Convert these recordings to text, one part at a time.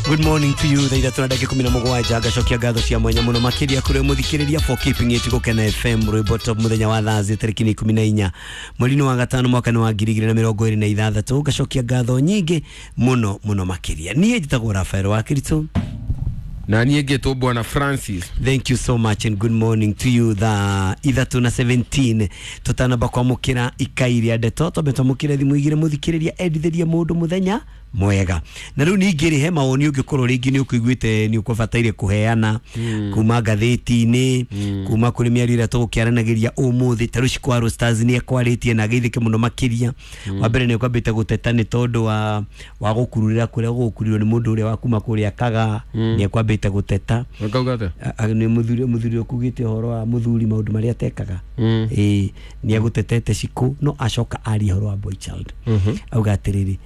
Good morning to you. Thaa ithatũ na ndagĩka 17 ngacokia ngatho cia mwanya mũno makĩria kũrĩ mũthikĩrĩria for keeping it Gũkena FM rwĩmbo top mũthenya wa Thursday tarĩki nĩ 14 mweri-inĩ wa gatano mwaka-inĩ wa 2026. Ngacokia ngatho nyingĩ mũno mũno makĩria. Niĩ njĩtagwo Rafael wa Kiritũ. Na niĩ ngĩtwo Bwana Francis. Thank you so much and good morning to you. Thaa ithatũ na 17 tũtanamba kwamũkĩra ikai rĩa ndeto twambe twamũkĩre thimũ igĩrĩ mũthikĩrĩria endithĩrie mũndũ mũthenya mwega. Na rĩu ningĩ rĩ he mawoni ũngĩkorwo rĩngĩ nĩ ũkũiguĩte nĩ ũkũbataire kũheana kuma ngathĩti-inĩ, kuma kũrĩ mĩario ĩrĩa tũgũkĩaranagĩria ũmũthĩ. Ta rĩu Shikwaro Stars nĩ ekwarĩtie na ageithĩke mũno makĩria. Wa mbere nĩ ekwambĩte gũteta nĩ tondũ wa gũkururĩra kũrĩa gũgũkururio nĩ mũndũ ũrĩa wa kuma kũrĩa Kaga, nĩ ekwambĩte gũteta. Ũkauga atĩa? Nĩ mũthuri ũkugĩte ũhoro wa mũthuri maũndũ marĩa atekaga. Ĩĩ, nĩ egũtetete Shiko no acoka aria ũhoro wa boy child. Auga atĩrĩrĩ,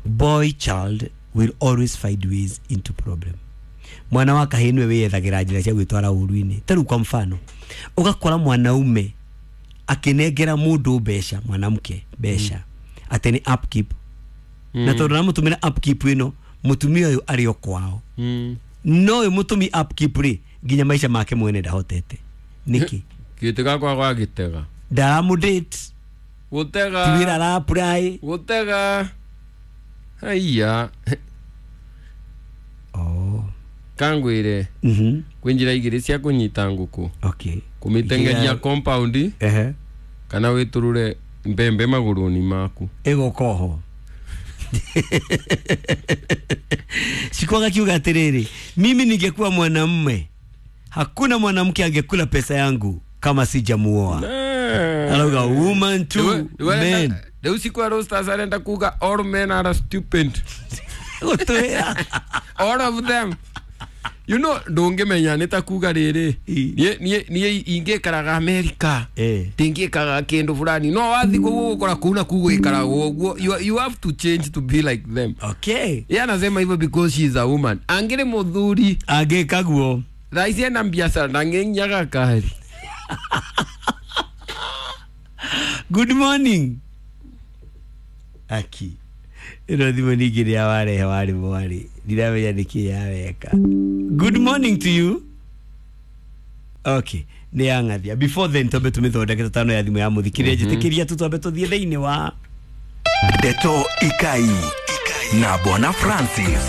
boy child will always find ways into problem. Mwana wa kahĩĩ nĩwe wĩyethagĩra njĩra cia gwĩtwara ũru-inĩ. Ta rĩu kwa mfano, ũgakora mwanaume akĩnengera mũndũ mbeca, mwanamke mbeca, atĩ nĩ upkeep. Na tondũ aramũtũmĩra upkeep ĩno, mũtumia ũyũ arĩ o kwao. No ũyũ mũtũmi upkeep rĩ, nginya maica make mwene ndahotete. Nĩkĩ? Gĩtĩ gakwa gwa gĩtega. Ndaramũdate. Gũtega. Ti wĩra ara-apply. Gũtega. Haiya. Oh. Kangwĩre. Kwĩ njĩra igĩrĩ cia kũnyita ngũkũ. Okay. Kũmĩteng'eria compound. Kana wĩtũrũre mbembe magũrũ-inĩ maku. Ĩgũka oho. Shiko akiuga atĩrĩrĩ, mimi ningekuwa mwanamume, hakuna mwanamke angekula pesa yangu kama sijamuoa. Arauga woman to men. Rĩu Shikwaro Stars arenda kuga all men are stupid. Gũtwĩra. All of them. You know, ndũngĩmenya nĩ ta kuga rĩrĩ. Niĩ ingĩikaraga America. Ndingĩkaga kĩndũ fulani. No wathiĩ kũu ũgũkora kũu na kũu gũikaragwo ũguo. You have to change to be like them. Okay. Yeye anasema hivyo because she is a woman. Angĩrĩ mũthuri. Angĩka guo. Thaa ici ena biacara ndangĩnyaga kari. Good morning. Aki. Ĩno thimũ ningĩ nĩ ya warehe warĩ mwarĩ. Ndiramenya nĩkĩ yaweka. Good morning to you. Okay, nĩ yang'athia. Before then twambe tũmĩthondeke tũtano ya thimũ ya mũthikĩrĩria. Njĩtĩkĩria tu twambe tũthiĩ thĩinĩ wa Ndeto Ikai na Bwana Francis.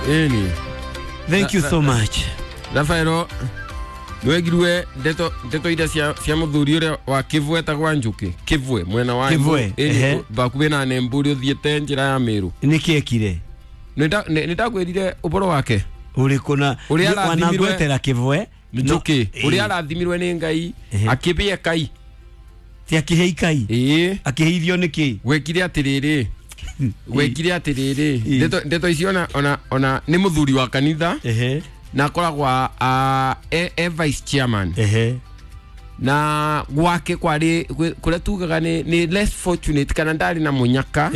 Ĩni. Thank you so much. Rafaelo, nĩwegirwe ndeto iria cia mũthuri ũrĩa wa Kĩvwe etagwo Njũkĩ. Kĩvwe, mwena wa Kĩvwe, ehe. Bakuhĩ na Nemburi ũthiĩte njĩra ya Meru. Nĩkĩ ekire? Nĩndakwĩrire ũhoro wake. Ũrĩkũ na Ũrĩa arathimirwe wanangwetera Kĩvwe? Njũkĩ. Ũrĩa arathimirwe nĩ Ngai, akĩbĩa kai. Ti akĩhe ikai? Ĩĩ. Akĩheithio nĩkĩ? Gwekire atĩrĩrĩ. Gwekire atĩrĩrĩ. Ndeto icio ona nĩ mũthuri wa kanitha. Na akoragwo e vice chairman. Na gwake kwarĩ kũrĩa tugaga nĩ less fortunate kana ndarĩ na mũnyaka.